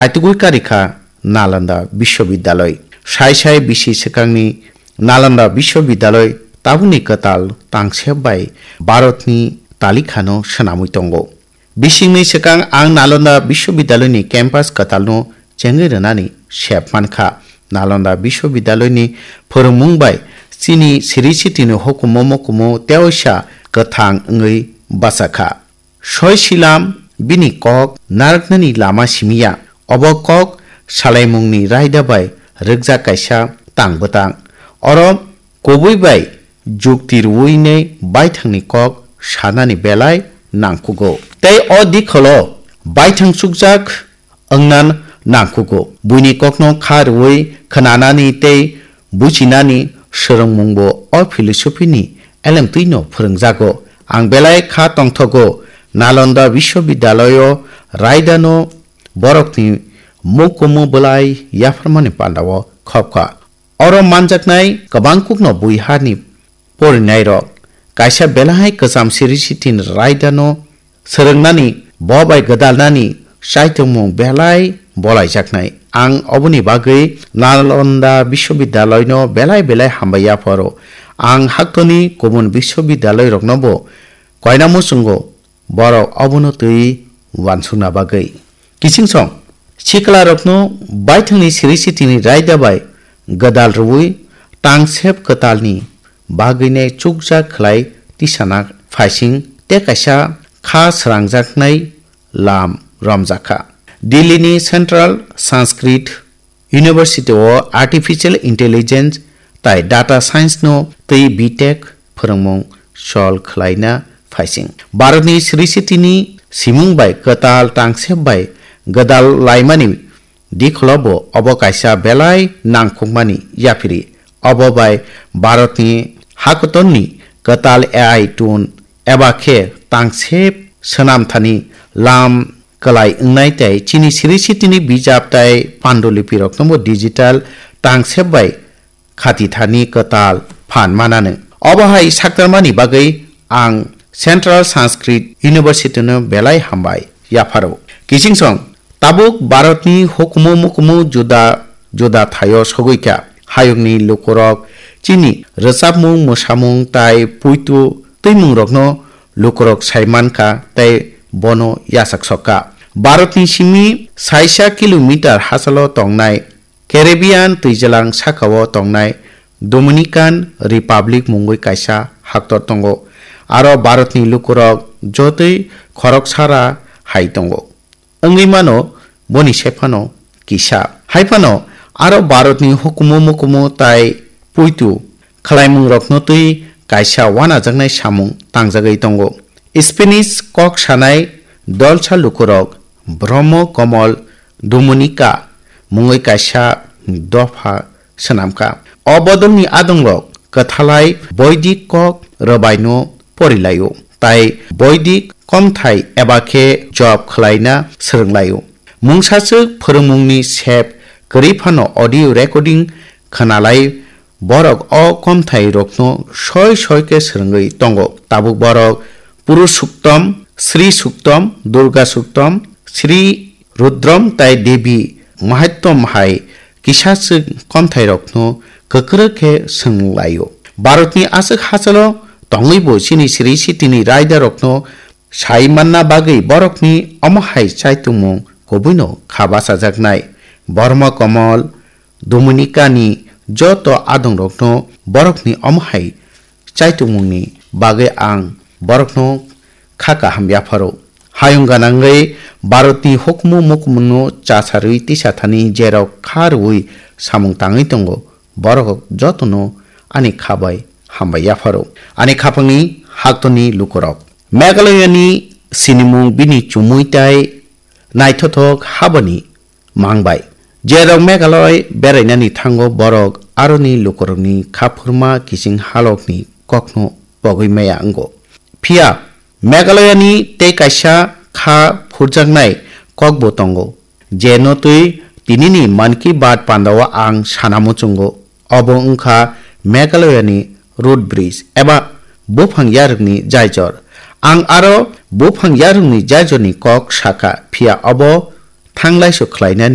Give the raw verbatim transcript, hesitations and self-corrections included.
Aitugwi karikha Nalanda Biswabidyaloi. Sai sai bisi swkangni Nalanda Biswabidyaloi tabukni kwtal tangsep bai Bharatni talikhano swnamwi tongo. Bisingni swkang ang Nalanda Biswabidyaloini campus kwtalno chengwi rwnani sep mankha. Nalanda Biswabidyaloini phwrwngmung bai chini siri sitini hukumu mukumu teoisa kwthang wngwi bachakha. Soi silam bini kok narwknani lama simiya. Obo kok salaimungni raida bai rwkjak kaisa tang bwtang. Oro kubui bai jukti rwui nei baithangni kok sanani belai nangkugo. Tei o dikholo baithang chukjak wngna nangkugo. Buini kokno kha rwui khwnanani tei buchinani swrwngmungbo o philosophy ni elemtwino phwrwngjago. Ang belai kha tongthogo, Nalanda Biswabidyalayo raidano borokni mukumu bwlai yapharmani pandao khopkha. Oro manjaknai kwbangkukno buiharni porinairok kaisa belai kwcham siri sitin raidano swrwngnani, bo bai gwdalnani chaitokmung belai bolaijaknai. Ang oboni bagwi Nalanda Biswabidyaloino belai belai hambai yapharo. Ang haktoni kubun biswabidyaloiroknobo koina muchungo borok obono twi uansukna bagwi. Kichingsong siklarokno baithangni siri sitini raida bai gwdal rwui tangsep kwtalni bagwinai chukjak khlai tisana phaising tei kaisa kha srangjaknai lam romjakha. Delhi ni Central Sanskrit University o Artificial Intelligence tai Data Science no twi B Tech phwrwngmung sol khlaina phaising. Bharatni siri sitini simung bai kwtal tangsep bai gwdal laimani dikholo bo obo kaisa belai nangkukmani yaphiri. Obo bai Bharatni hakotorni kwtal A I tool eba khe tangsep swnamthani lam kwlai wngnai tei chini siri sitini bijap tai pandulipiroknobo digital tangsep bai khatithani kwtal phan mananw. Obo hai saktarmani bagwi ang Central Sanskrit University no belai hambai yapharo. Kichingsong tabuk Bharatni hukumu mukumu juda juda thaio sogwikha. Hayungni lukurok chini rwchapmung, mwsamung tai puitu twimungrokno lukurok sai mankha tei bono yachak sokha. Bharatni simi saisa kilometer hachalo tongnai Caribbean twijlang sakao tongnai Dominican Republic mungwi kaisa haktor tongo. Aro Bharatni lukurok jotoi khoroksara hai tongo. Wngwi mano boni sephano kisa. Hai phano aro Bharatni hukumu mukumu tai puitu khlaimungrokno twi kaisa wanajaknai samung tangjagwi tongo. Spanish kok sanai dolsa lukurok Brahmo Komol Dominica mungwi kaisa dopha swnamkha. O bodolni adongrok kwthalai Boidik kok rwbaino porilaio, tai Boidik komthai eba khe job khlaina swrwnglaio. Mungsaswk phwrwngmungni sep kwrwi phano audio recording khwnalai borok o komthairokno soi soi khe swrwngwi tongo. Tabuk borok Puru Suktom, Sri Suktom, Durga Suktom, Sri Rudrom tai Devi Mahattom hai kisaswk komthairokno kwkrwk khe swnglaio. Bharatni aswk hachalo tongwibo chini siri sitini raidarokno sai manna bagwi borokni omo hai chaitungmung kubuino kha bachajaknai. Borma Komol, Dominicani joto adongrokno borokni omo hai chaitungmungni bagwi ang borokno kha kaham yapharo. Hayung ganangwi Bharatni hukumu mukumungno chasarwi tisathani jerok kha rwui samung tangwi tongo, borok jotono ani kha bai hambai yapharo. Ani khapangni haktorni lukurok. Meghalayani sinimung bini chumui tai naithothok habani mang bai. Jerok Meghalaya berainani thango borok aroni lukurokni khaphurma kiching halokni kokno pogwi maya wngo. Phiya Meghalayani tei kaisa kha phurjaknai kokbo tongo, je no twi tinini Mann Ki Baat pandao ang sana muchungo. Obo wngkha Meghalayani root bridge eba buphang yarwkni jaijor. Ang aro buphang yarwkni jaijorni kok sakha, phiya obo thanglaisu khlainani